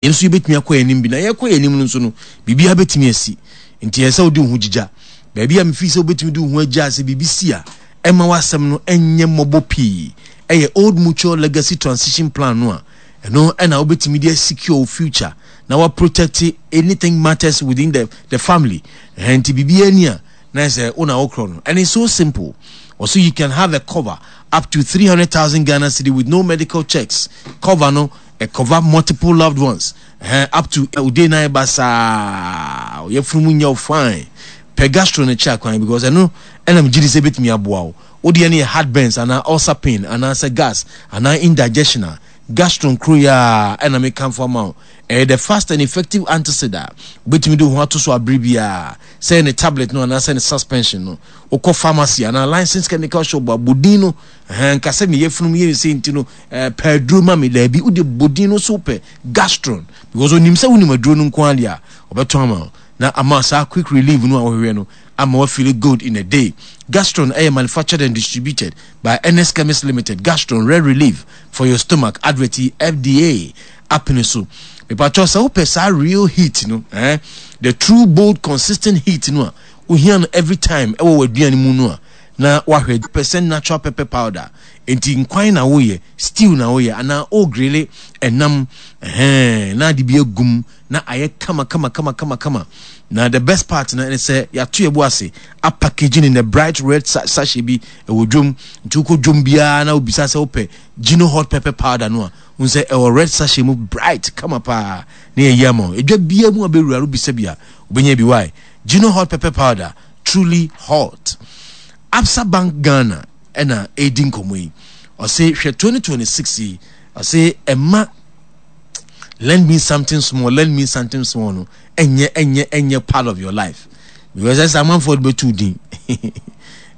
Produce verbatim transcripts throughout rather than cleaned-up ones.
Yɛn nso yɛbɛtumi akɔ yɛn anim bi na yɛkɔ yɛn anim no nso no, biribiara bɛtumi asi. Nti ɛsɛ sɛ wode wo ho gyigya baabi a mefii sɛ wobɛtumi de wo ho agya sɛ biribi si a, ɛma w'asɛm no ɛnyɛ mmɔbɔ pii. Ɛyɛ Old Mutual Legacy Transition Plan no a ɛno ɛna wobɛtumi de asecure wo future na waprotect anything matters within the, the family. Ɛhɛn, nti biribiara ni a na sɛ wo na wokorɔ no, and it's so simple. Also, you can have a cover up to three hundred thousand Ghana cedi with no medical checks. Cover no ɛ cover multiple loved ones uh, up to ode nan ba saa yɛfunu mu nyɛ wo fine. Pɛ Gastro no kyɛ akwan because ɛno ɛna megye di sɛ ɛbɛtumi aboa wo. Wodeɛ no yɛ heartburns anaa ulcer pain anaasɛ gas anaa indigestion a, Gastro nkuro yi a ɛna mekamfo ama wo. Ɛyɛ the fast and effective antacid a wobɛtumi de wo ho ato so abere biara, sɛ ne tablet no anaasɛ ne suspension no. Wokɔ pharmacy anaa licensed chemical shop a, bodin no nka sɛ meyɛ funum yɛ sɛ nti no pɛ aduro ma me. Daabi, wode bodin no so pɛ Gastron because onim sɛ wonim aduro no nko adeɛ a ɔbɛtɔn ama wo na ama saa quick relief no a wohwehwɛ no ama wa feel good in a day. Gastron ɛyɛ manufactured and distributed by N S Chemist Limited. Gastron, rare relief for your stomach. Advert F D A apene so. Mepatwɔ sɛ wopɛ saa real heat no, eh? The true, bold, consistent heat no a wohia no every time ɛwɔ w'aduane mu no a, na wahwɛ percent natural pepper powder. Nti nkwan na woyɛ, stew na woyɛ, anaa o grill ɛnam ɛhɛn na ade bi agum na ayɛ kama kama kama kama kama. Na the best part na ne sɛ yɛato yɛ bo ase apackaging in a bright red sachet bi ɛwɔ dwom. Nti wokɔ dwom biara na wobisa sɛ wopɛ Gino Hot Pepper Powder no a, wohu sɛ ɛwɔ red sachet mu, bright kama paa na yɛyi ama wo. Edwa biara mu a bɛwura no, wobisa bi a, wobɛnya bi. Why Gino Hot Pepper Powder, truly hot. Absa Bank Ghana ɛna ɛredi nkɔmmɔ yi. Ɔse hwɛ, twenty twenty-six yi, ɔse ɛma "lend me something small, lend me something small" no ɛnyɛ ɛnyɛ ɛnyɛ part of your life because ɛsɛ amanfoɔ de bɛtu din.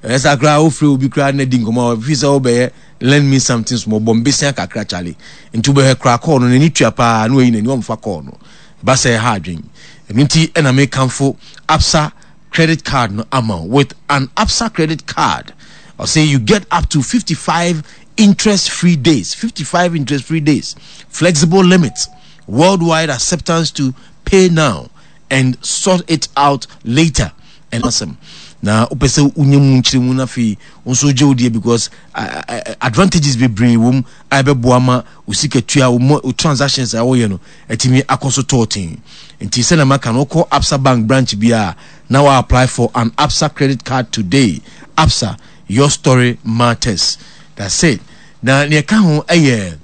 Ɛsɛ akora wofrɛ obi koraa na di nkɔmmɔ a fi sɛ wobɛyɛ "lend me something small", bɔ mbesia kakra kyale. Nti wobɛhwɛ koraa kɔɔ no n'ani tua paa na wayi n'ani ɔmfa kɔɔ no ba sɛ ɛha adwen. Ɛno nti ɛna mekamfo Absa credit card no ama. With an Absa credit card, ɔse you get up to fifty-five interest free days, fifty-five interest free days, flexible limits, worldwide acceptance to pay now and sort it out later. And awesome. Na wopɛ sɛ wonya mu nkyerɛmu no afei wo nso gye wo deɛ because uh, uh, advantages bebree wɔ mu a ɛbɛboa ma wo sika tua, wo transactions a wɔyɛ no atumi akɔ so tɔɔten. Nti sɛnea maka no, wokɔ Absa Bank branch bi a na wa apply for an Absa credit card today. Absa, your story matters. That's it. Na nea ɛka ho ɛyɛ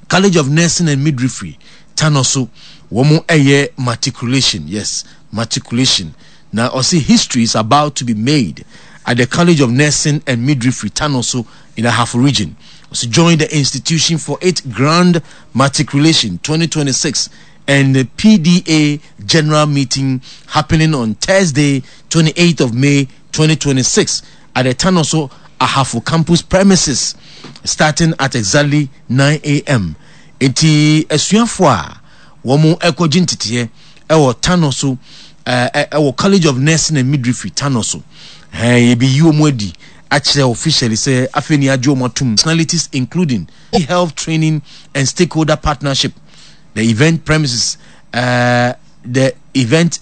College of Nursing and Midwifery Tanoso, wɔn ɛyɛ matriculation. Yes, matriculation. Na ɔsi history is about to be made at the College of Nursing and Midwifery Tanoso in the Ahafo Region. Ɔsi join the institution for its grand matriculation twenty twenty-six and the P D A general meeting happening on Thursday, twenty-eighth of May twenty twenty-six at the Tanoso Ahafo campus premises, starting at exactly nine a m. Enti asuafoɔ a wɔn ɛkɔgye nteteɛ ɛwɔ Tanoso, ɛɛ ɛwɔ College of Nursing and Midwifery Tanoso, ɛɛ yɛbɛyi wɔn adi akyerɛ officially sɛ afei ni agye wɔn atum. Personalities including health training and stakeholder partnership. The event premises uh, the event